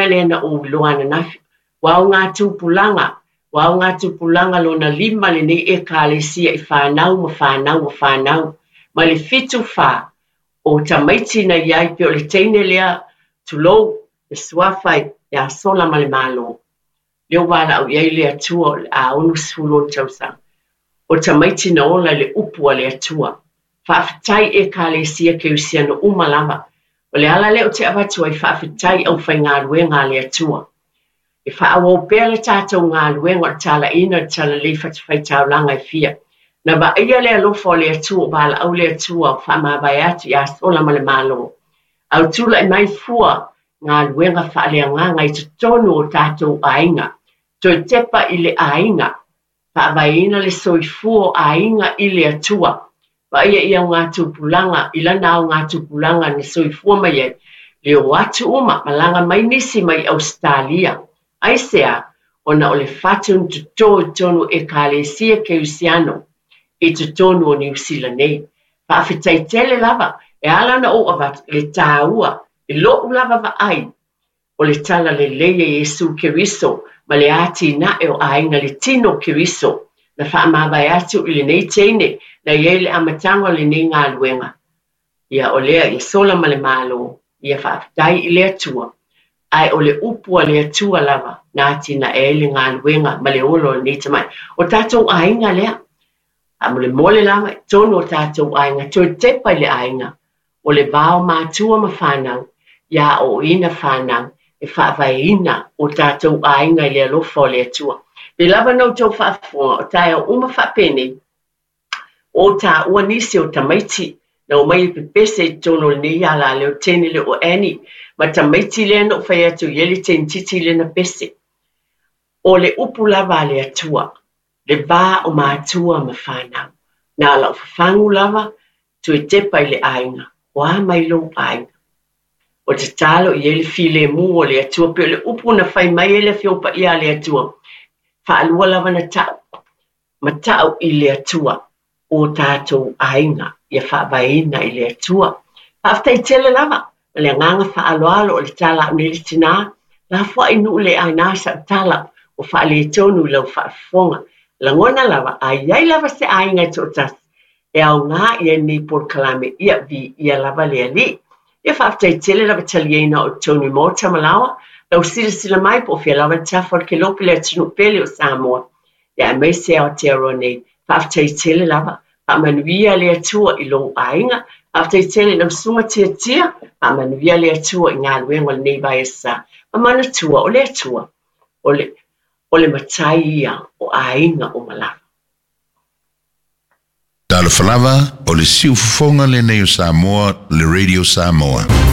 mea lea na ou iloa ananafi, ua augatupulaga, ua augatupulaga lona lima lenei Ekalesia i fanau ma fanau ma fanau, mai le 74 o tamaiti na i ai pei o le teine lea, tulou, le suafa ia Sola ma le Malo. Lea ua valaau i ai le Atua o le a 66 tausaga. O tamaiti na ola i le upu a le Atua. Faafetai Ekalesia Kerisiano uma lava. O le ala lea ou te avatu ai faafetai i aufaigaluega a le Atua. E faaauau pea le tatou galuega o le talaiina o le talalelei fatafaitaulaga e fia. Na vaaia le alofa o le Atua o valaau le Atua o faamavae atu ia Sola ma le Malo. A o tulai mai fua galuega faaleagaga i totonu o tatou aiga. Toe tepa i le aiga, faavaeina le soifua o aiga i le Atua. Vaaia i augatupulaga, i lana augatupulaga na soifua mai ai, le o atu uma, malaga mai nisi mai Ausetalia. Aisea? Ona o le fatu na toto i totonu o Ekalesia Kerisiano i totonu o Niu Sila nei. Faafetai tele lava, e ala ona ou avatu le taua I lo'u lava vaai, o le talalelei a Iesu Keriso ma le atinae o aiga le tino o Keriso na faamavae atu i lenei teine na i ai le amataga o lenei galuega. Ia, o lea ia sola ma le Malo, ia faafetai i le Atua. Ae o le upu a le Atua lava na atinae ai le galuega ma le ola o lenei tamai. O tatou aiga lea. Faamolemole lava i totonu o tatou aiga, toe tepa i le aiga. O le va o matua ma fanau, ia aoaoina fanau e faavaeina o tatou aiga i le alofa o le Atua. Pei lava ona outou faafofoga, o taeao uma faapenei, ua ou taua nisi o tamaiti na omai e pepese i totonu o lenei alaleo teine lea o Annie, ma tamaiti lea na ou fai atu i ai le teinititi lea na pese. O le upu lava a le Atua, le va o matua ma fanau. Na o lau fafagu lava, toe tepa i le aiga, o a mai lou aiga? O tatalo i ai le filemu o le Atua, pei o le upu na fai mai ai le Afioga Paia a le Atua, faalua lava na ta'u, ma ta'u i le Atua o tatou aiga, ia faavaeina i le Atua. Faafetai tele lava, ma le agaga faaaloalo o le tala a'u nei le tinā, lafoai nuu le aina sa'u tala ua faaletonu i lau faafofoga. Lagona lava, a i ai lava se aiga e toatasi, e aoga i ai lenei polokalame, ia viia lava le Alii. Ia faafetai tele lava taliaina o totonu i Maota ma Laoa, lau silasila mai po o fea lava le tafa o le kelope le atunuu pele o Samoa. Ia aemaise Aotearoa nei. Faafetai tele lava. Faamanuia le Atua i lou aiga. Faafetai tele i lau susuga Tiatia. Faamanuia le Atua i galuega o lenei vaiaso. Ma manatua o le Atua, o le, o le matai ia o aiga uma lava. Talofa lava, o le siufofoga lenei o Samoa, le Radio Samoa.